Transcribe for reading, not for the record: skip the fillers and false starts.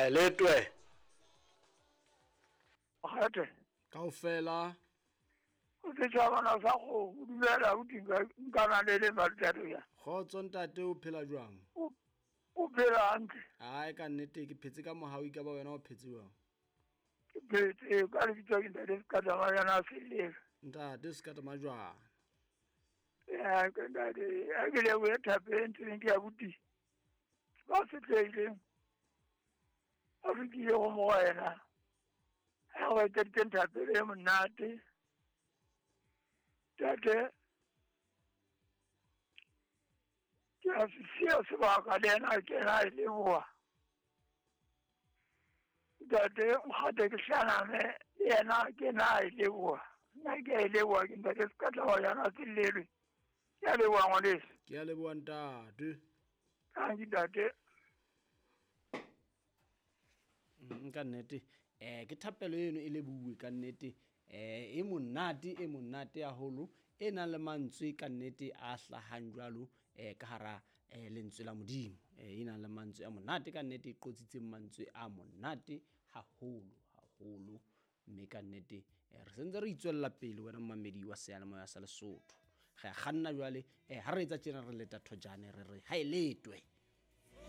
Ha e letwe. Kgethe. Kaofela. O setjhabana sa kgomo, dumela abuti nkana le le malutado ya. Kgotso ntate o phela jwang? O phela hantle. Ai ka nnete ke phetse ka mohau ka ba wena o phetse jwang? Ke phetse ka lebitso ke ntate Sekatama Selelo. Ntate Sekatama jwang? Ya ke ntate, a ke lebohe thapelo e ntseng ke abuti. Ba setlehileng. A fetile go mo wena. Ha o etseditseng thapelo e monate. Tate ke a se siya sebaka le yena a kena a e leboha. Ntate Nkgate ke hlaname le yena a kena a e leboha. Nna ke a e leboha ke ntate Sekatla Selelwe. Ke a leboha ngwaneso. Ke a leboha ntate. Thank you ntate. Ka nnete ke thapelo eno e lebuwe ka nnete e monate haholo e nang le mantswe ka nnete a hlahang jwalo ka hara lentswe la Modimo e nang le mantswe a monate ka nnete e qotsitseng mantswe a monate haholo haholo mme ka nnete re sentse re itswella pele wena mmamedi wa seyalemoya sa Lesotho re a kganna jwale ha re etsa tjena re leta thojane re re ha e letwe.